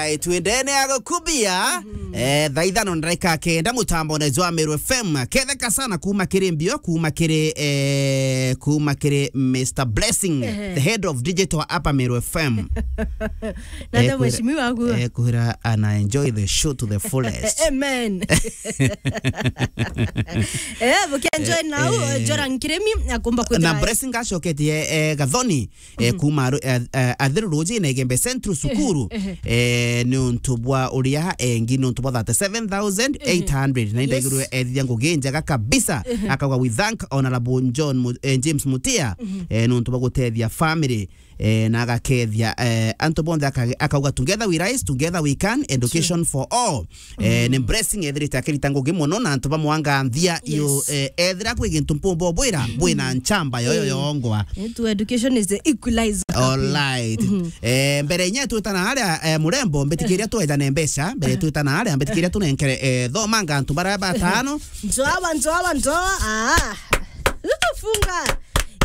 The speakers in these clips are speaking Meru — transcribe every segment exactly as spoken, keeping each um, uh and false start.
Alright, twendene ya gukubia. Eh, thaa ithano na ndagika kenda, mutambone jwa Meru F M. Ketheka sana kuma kiri mbio, kuma kiri, eh, kuma kiri Mister Blessing, the head of digital hapa Meru F M. Na ndio mheshimiwa wangu. Eh, kuhira ana enjoy the show to the fullest. Amen. Eh, bukienjoy now, eh, Jora Nkiremi akumba kwithira. Na Blessing acoketie, eh, Gathoni, eh, kuma aru-, eh, eh, Athiru Rujine Igembe Central Cukuru, eh, ni untu bwa uria engi, ni untu bwa thirty-seven thousand eight hundred. Na indaigirwe ethithia ngugi njega kabisa. Akauga, "We thank Honorable John Mu-, eh, James Mutia, eh, ni untu bwa gutethia family." Eh, na agakethia, eh, antu bonthe aka-, akauga, "Together we rise, together we can, education for all." Eh, ni Blessing ethirite akirita ngugi mono na antu bamwanganthia. Yes. Iyo, eh, ethira kwi gintu mpumba bwira, bwina nchamba yoyo yongwa. Eh, to education is the equalizer. All right. Eh, mbere inya twitana haria, eh, murembo, mbitikiria twejane mbeca, mbere twitana haria, mbitikiria tunenkere, eh, thomanga antu bara batano. Njoa, njoa, njoa. Ah. Funga.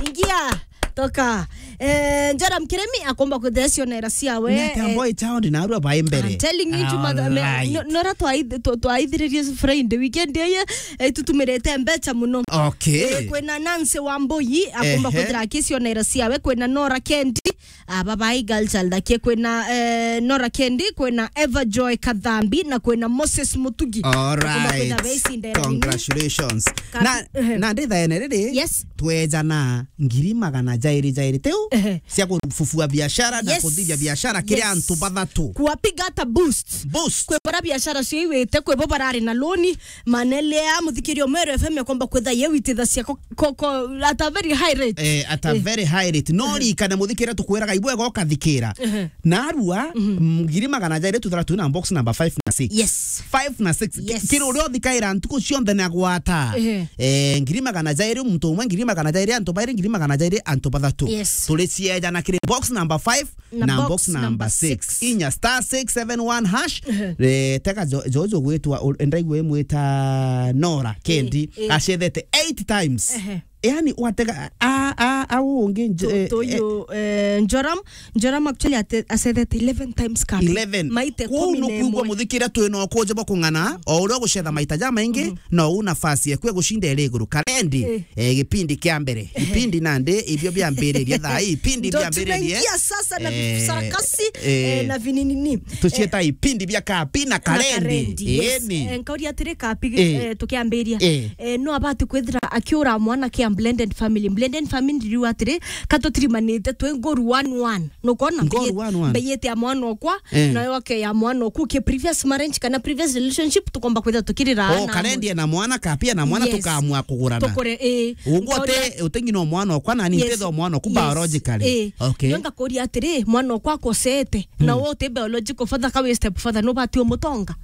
Ingia. Toka. Eh, Joram Kiremi akomba kuthea cionera ciawe. Ni atia, eh, boy child na arua bai mbere. I'm telling you, Juma, me, right. No, nora twaith-, twa-, twaithiririe Friday, weekend eye, eh, tutumirite mbecha muno. Okay. Eh, kwina Nancy Wambui akomba kuthira aki cionera ciawe, kwina Nora Kendi, aba bai girl child aki, kwina, eh, Nora Kendi, kwina Eva Joy Kathambi, na kwina Moses Mutugi. All right. Akomba kwithira beicindera nini? Congratulations. Kapi-, na, ehe. Na ndithaene riri, yes, twejana ngiri magana jairi jairi tiu, ehe, cia kufufua biashara na, yes, kuthithia biashara kiri, yes, antu bathatu. Kuwapiga hata boost. Boost. Kwi bara biashara cio iwite, kwi bo barari na loan, manelea muthikirio Meru F M akomba kwitha ye witithacia ko, ko, ko, at a very high rate. Eh, at a, eh, very high rate. No, ehe, rikana muthikiria tukwiraga ibwega ukathikira. Ehe. Narua, mhm, ngiri magana jairi tu thirty-two na box number five na six. Yes. Five na six. Yes. Kiri uria uthikaira ntuku cionthe na gwata. Ehe. Eh, ngiri magana jairi muntu umwe, ngiri magana jairi antu bairi, ngiri magana jairi antu bathatu. Yes. Turi ciejana kiri box number five na box number six. Inya star six seven one hash. Ehe. Eh, teka jo-, jojo gwitwa, u-, ndaigua imwita Nora Kendi. Eh, eh. Acethete eight times. Ehe. Yani, watega, a, a, a, ungi nj-, to, eh, to eh, you, eh, Joram, Joram actually ate-, acethete eleven times cup. Eleven. Maite kumi na imwe. Kuu nukwigua muthikira twina ukunje bwa kung'ana, o uria ugucetha maita jamaingi, mhm, no u nafasi eku ya gucinda iri iguru. Karendi, eh, eh, gipindi kia mbere. Ehe. Gipindi nandi, ibio biambiririe thaa ii, ipindi biambiririe. Ndo tunaingia sasa na, eh, visarakasi, eh, eh, na vininini. Tucieta, eh, ipindi bia kapi na karendi. Na karendi, yes. Eni. Eh, nkauria atiri kapi, eh, eh, tukiambiria. Eh. Eh, no abati kwithira akiura mwana kia blended family. Blended family riu atiri, katutirimanite twi ngoru one one. Nukona? Ngoru one one. Mbeyete ya mwana okwa, eh, nayo ake ya mwana oku ki previous marriage kana previous relationship, tukomba kwithira tukirira. Oh, ana karendi amwe. Ena mwana, kapi ena mwana, yes, tukamua kugurana. Tukore, eh. Ungu nkauria ute-, utengi no mwana okwa, nani, yes, ntitha mwana oku, yes, biologically. Eh. Okay. Nyo ngakuria atiri, mwana okwa akosete, na, mm, we uti biological father, ka wi step father, nubati umutonga?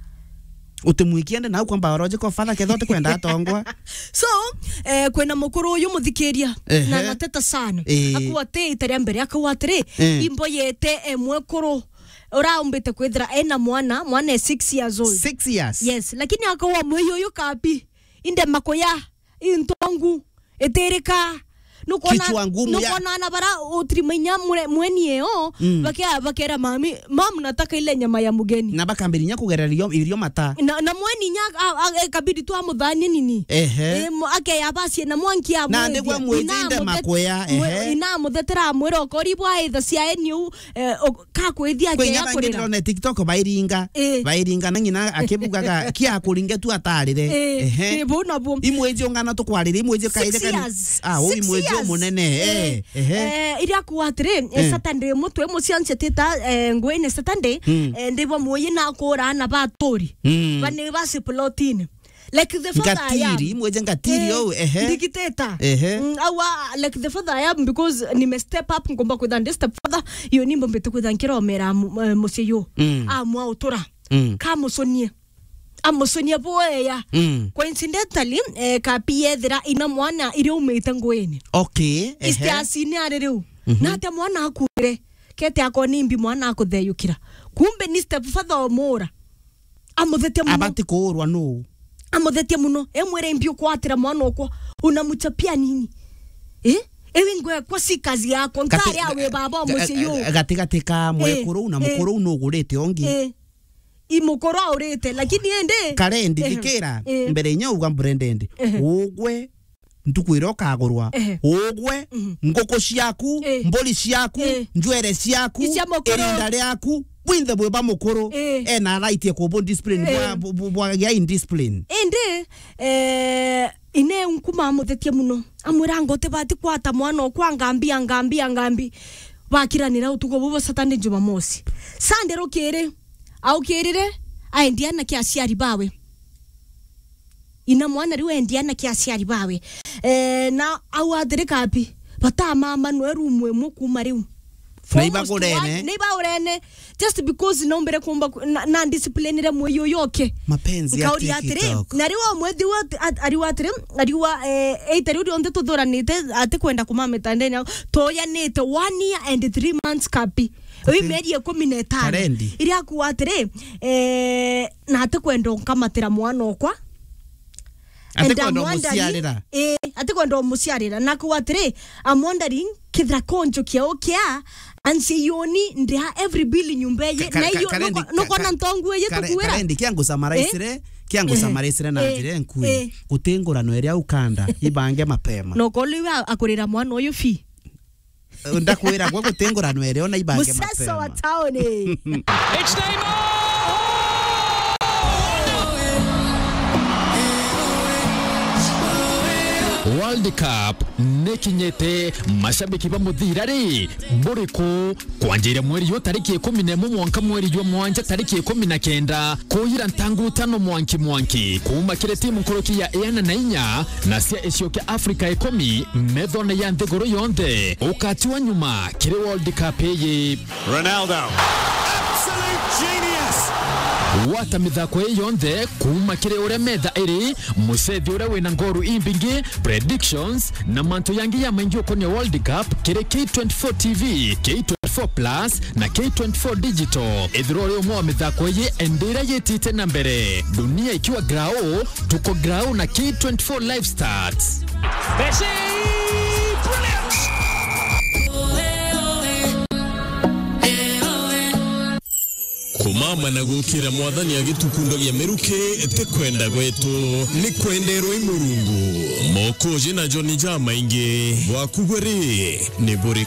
Utimwikie nde nau kwa biological father, ketha utikwenda atongwa. So, eh, kwina mukuru uyu muthikiria, ehe, na anateta sana. Eh. Akua ati ita ria mbere, akauga atiri, eh, imboyete, eh, mwekuru uraumbite kwithira ena mwana, mwana e six years old. Six years? Yes, lakini akauga mwei uyu kapi, inde makuya, intongu, itirika. Nukona, kichwa ngumu ya, nukona ana bara utirimainya mure-, mweni eo, mm, bakia-, bakera mami, "Mam, nataka ile nyama ya mugeni." Na bakambirinya kugereria irio mata. Na, na mweni nya, a, a, ikabidi tu amuthanie nini. Ehe. E, mu-, akeya bacie na mwanki. Na amwithia. Ndigwa mwithinde makuya, mwe-, ehe, ina amuthetera amwira, "Ukori bwa itha cia eni u, eh, o-, ka kwithia." Kwi akeya nya bangi kurira. Ndirone TikTok bairinga. Eh. Bairinga na ng'ina akibugaga, "Kia kuringe tu atarire." Eh, ehe. Eh, bu na bu. Imwiji ungana tukwarire, imwiji kaire. Six years. Ah, u imwiji umunene. Eh, ehe. Eh, iria kuwa atiri, eh, eh, Saturday imwe twi mucianci atita, eh, ngwine Saturday, mm, eh, ndibwa muyi na kura ana baturi. Mm. Bani basi plotini. Like the father I am. Ngatiri, imwije ngatiri, eh, ou, ehe. Ndigiteta. Ehe. Mm, awa, like the father I am, because nime step up, ngomba kwitha ndi step father, iyo nimbo mbite kwitha nkiromera mu-, eh, mucii yu. Mm. Amwa utura. Mm. Kamuconie. Amuconie bwega. Mm. Coincidentally, eh, kapi yethira ina mwana iria umite nguini. Okay, ehe. Istiasini ari riu. Mhm. Na atia mwana akuire. Kete akoni mbi mwana akutheyukira. Kumbe ni step father omura. Amuthetia muno. Abati kuurwa nuu? Amuthetia muno. Emwire, "Imbi ukwatira mwana okwa, unamchapia nini? Eh? Ewe ngwekwa si kazi yako. Gati-, ntari awe baba ga-, mucii yu." Ga-, gatigati ka, eh, mwekuru na, eh, mukuru nugurite ungi. Eh. I mukuru aurite, lakini indi Karendi, ehe, thikira, eh, mbere inya uga mburendendi. Ehe. Ugwe, ntuku iria ukagurwa. Ehe. Ugwe, mhm, nguku ciaku, eh, mburi ciaku, eh, njwere ciaku, iria mukuru, irinda riaku, bwinthe bwi ba mukuru. Eh. Ena right ya kubu discipline, eh, bwa, bwa, bwa, bwa, ya indiscipline. Indi, eh, ine nkuma amuthetie muno. Amwira, "Ngutibati kwata mwana okwa ngambi, a ngambi, a ngambi." Bakiranira utuku bubu Saturday, Jumamosi. Sunday rukiri, aukirire, aendia na kia aciari bawe. Ina mwana riu endia na kia aciari bawe. Eh, na au atiri kapi, batamama nwe rumu imwe kuma riu. Na ibagurene. Na ibagurene. Just because naumbire kuumba ku-, na, na disciplinire mwei uyu uke. Mapenzi ya Nkauria atiri, TikTok. Na riu omwethirwa at-, at-, ariu atiri, ariu, eh, eita riu rionthe tuthuranite, ati kwenda kuma mitandene au. Tuyanite one year and three months kapi. Uyu mieri ikumi na itano. Karendi. Iria akuuga atiri, eh, na ati kwenda unkamatira mwana okwa. Ati kwenda umuciarira. Eh, ati kwenda umuciarira. Na kuuga atiri, I'm wondering, kethira konjo kia ukia, ansi yoni ndia every bill nyumba eye. Ka-, ka-, na iyo, Karendi, nuko-, nukona ka-, ntongu eye Kare-, tukuira. Karendi, kia ngusamaraisire, eh? Kia ngusamaraisire na, eh, njira enkui. Eh. Guti ngurano iria ukanda, ibange mapema. Nokoliwa akurira mwana uyu fi. Ndakwira gwe guti ngurano iria ona ibange mapema. Museso wa tauni. It's time. World Cup nikinyite, mashabiki ba muthira ri, buriku? Kwanjira mweri yo tariki ikumi na imwe mwanka mweri jwa mwanja tariki ikumi na kenda, kuira ntangu tano mwanki mwanki, kuuma kiri timu nkuruki ya iana na inya na cia icio kia Afrika ikumi, methone ya nthiguru yonthe, ukatiwa nyuma kiri World Cup iyi. Ronaldo. Absolute genius. Gwata mithako ii yonthe kuuma kiri uria metha iri, mucethi uria wina ngoru imbingi, predictions, na mantu yangi ya maingi ukonia World Cup kiri K twenty-four T V, K twenty-four Plus, na K twenty-four Digital. Ethirwa uri umwe wa mithako ii, ende iria yitite na mbere. Dunia ikiwa grao, tuko grao na K twenty-four Live Stats. Messi! Brilliant! Kumama na gukira Mwathani agitukundhagia miruki ti kwenda gwetu, ni kwenderwa i Murungu. Mokoji na joni jamaingi, bwaku gwe ri, ni buriku?